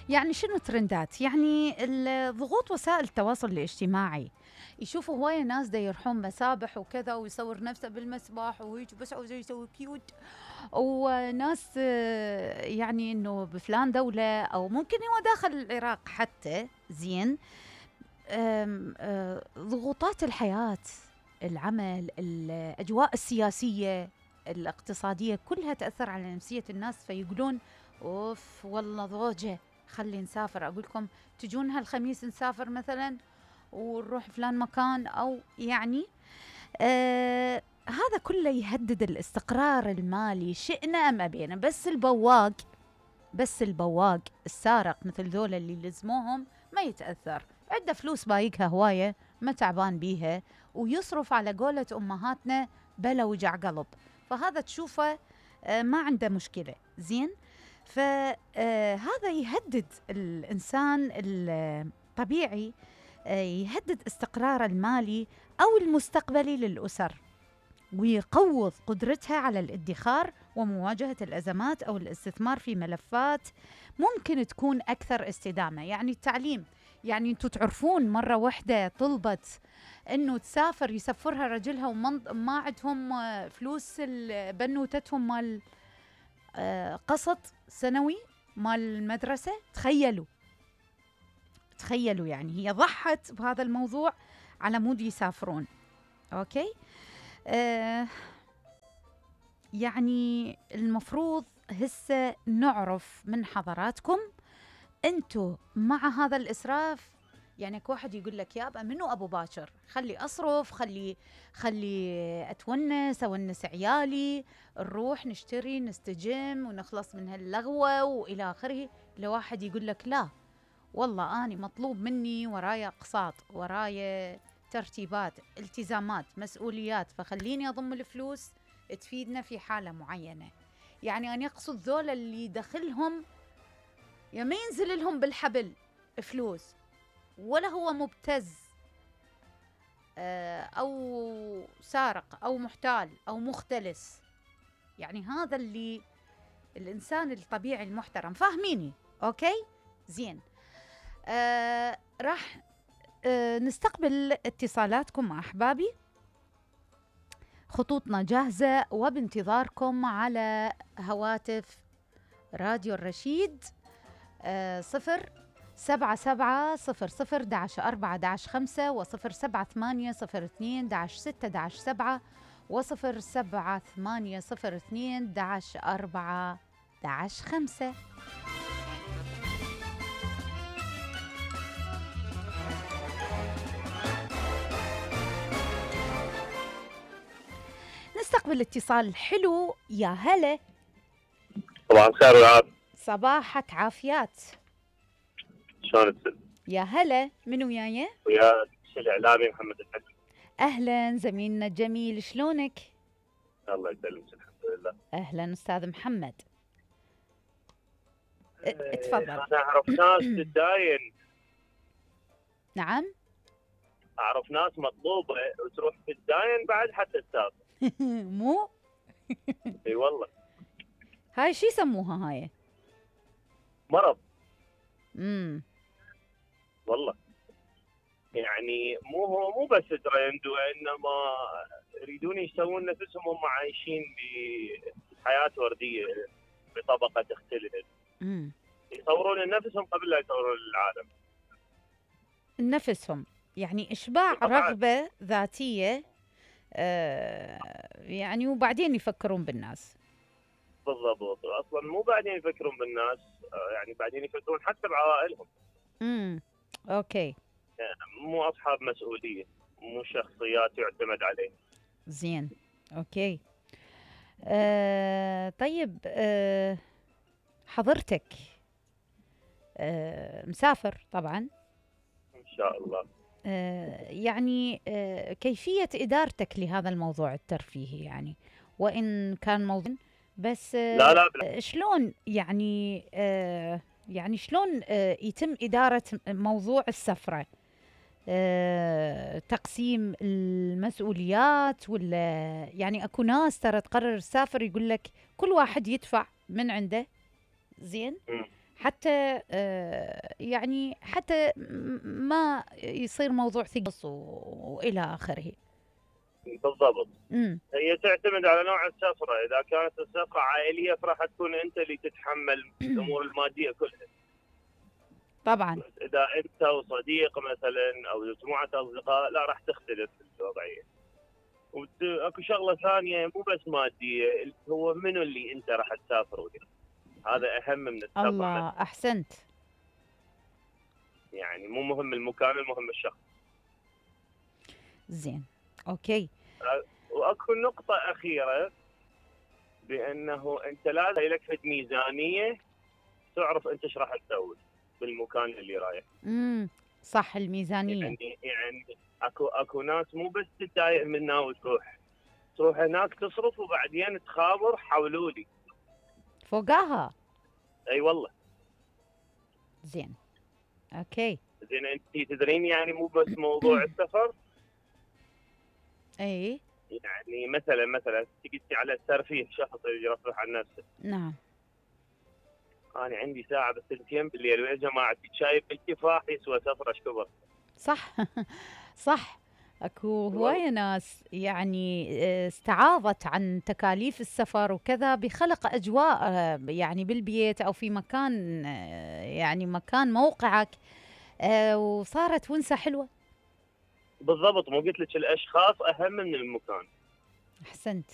يعني شنو ترندات؟ يعني ضغوط وسائل التواصل الاجتماعي، يشوفوا هواية ناس دا يروحون مسابح وكذا ويصور نفسه بالمسبح وهيك بس عاوز يسوي كيوت، وناس يعني انه بفلان دولة او ممكن هو داخل العراق حتى. زين. ضغوطات الحياة، العمل، الأجواء السياسية الاقتصادية كلها تأثر على نفسية الناس، فيقولون اوف والله ضوجة خلي نسافر. اقول لكم تجون هالخميس نسافر مثلا ونروح فلان مكان، او يعني هذا كله يهدد الاستقرار المالي شئنا ام ابينا. بس البواق السارق مثل ذولا اللي لزموهم ما يتأثر، عنده فلوس بايقها هواية ما تعبان بيها، ويصرف على قولة أمهاتنا بلا وجع قلب، فهذا تشوفه ما عنده مشكلة. زين. فهذا يهدد الإنسان الطبيعي، يهدد استقرار المالي أو المستقبلي للأسر، ويقوض قدرتها على الادخار ومواجهة الأزمات أو الاستثمار في ملفات ممكن تكون أكثر استدامة. يعني التعليم، يعني أنتوا تعرفون مرة واحدة طلبت أنه تسافر يسفرها رجلها وما عندهم فلوس بنوتتهم مال قسط سنوي مال المدرسة. تخيلوا يعني هي ضحت بهذا الموضوع على مود يسافرون. أوكي. يعني المفروض هسه نعرف من حضراتكم انتو مع هذا الإسراف. يعني واحد يقول لك يابا منو أبو باكر، خلي أصرف، خلي أونس عيالي، نروح نشتري نستجم ونخلص من هاللغوة وإلى آخره. لواحد يقول لك لا والله أنا مطلوب مني ورايا أقساط، ورايا ترتيبات، التزامات، مسؤوليات، فخليني أضم الفلوس تفيدنا في حالة معينة. يعني أنا أقصد ذولا اللي دخلهم يا ما ينزل لهم بالحبل فلوس، ولا هو مبتز أو سارق أو محتال أو مختلس. يعني هذا اللي الإنسان الطبيعي المحترم، فاهميني؟ أوكي؟ زين. راح نستقبل اتصالاتكم مع أحبابي، خطوطنا جاهزة وبانتظاركم على هواتف راديو الرشيد. 07700-4-11-5 و07802-6-7 و07802-4-11-5. نستقبل اتصال حلو. يا هلا. طبعا خير والعافية. صباحك عافيات. شلون تسلم؟ يا هلا، منو وياي؟ ويا الإعلامي محمد الحكم. أهلا زميلنا الجميل، شلونك؟ الله يسلمك الحمد لله. أهلا أستاذ محمد. اتفضل. أنا أعرف ناس تداين. نعم. أعرف ناس مطلوبة وتروح تداين بعد حتى تسافر. مو؟ اي والله. هاي شو يسموها هاي؟ مرض. والله يعني مو بس ترند، وانما يريدون يسوون نفسهم هم عايشين بحياة وردية بطبقة تختلف. يصورون نفسهم قبل لا يصورون العالم. نفسهم يعني إشباع رغبة ذاتية، يعني وبعدين يفكرون بالناس. بالضبط. اصلا مو بعدين يفكرون بالناس، يعني بعدين يفكرون حتى بعوائلهم. اوكي. يعني مو اصحاب مسؤوليه، مو شخصيات يعتمد عليه. زين. اوكي. طيب، حضرتك مسافر طبعا ان شاء الله. يعني كيفية إدارتك لهذا الموضوع الترفيهي، يعني وإن كان موضوع بس لا شلون يعني شلون يتم إدارة موضوع السفرة؟ تقسيم المسؤوليات، ولا يعني أكو ناس ترى تقرر تسافر يقول لك كل واحد يدفع من عنده. زين. حتى يعني حتى ما يصير موضوع ثقص والى اخره. بالضبط. امم. هي تعتمد على نوع السفره، اذا كانت السفره عائليه فراح تكون انت اللي تتحمل الامور الماديه كلها. طبعا. بس اذا انت وصديق مثلا او مجموعه اصدقاء لا راح تختلف الوضعيه. واكو شغله ثانيه مو بس ماديه، اللي هو منو اللي انت راح تسافر وياه. هذا اهم من السفر الله، نفسه. احسنت. يعني مو مهم المكان، المهم الشخص. زين. اوكي. واكو نقطه اخيره، بانه انت لازم لك فد ميزانيه تعرف انت ايش راح تسوي بالمكان اللي رايح. صح، الميزانيه. يعني اكو ناس مو بس تتضايق منها تروح هناك تصرف وبعدين تخابر حولوا لي. فوقاها. اي والله. زين. اوكي. زين انت تدرين يعني مو بس موضوع السفر. اي. يعني مثلا تجي على الترفيه، شخص يرفه عن نفسه. نعم. انا عندي ساعه بس 2 بالليل ويا جماعه شايف الكفاح يسوى سفره ايش كبر. صح. صح. اكو والله. هواية ناس يعني استعاضت عن تكاليف السفر وكذا بخلق اجواء يعني بالبيت او في مكان يعني مكان موقعك وصارت ونسة حلوة. بالضبط، مو قلت لك الاشخاص اهم من المكان. احسنت.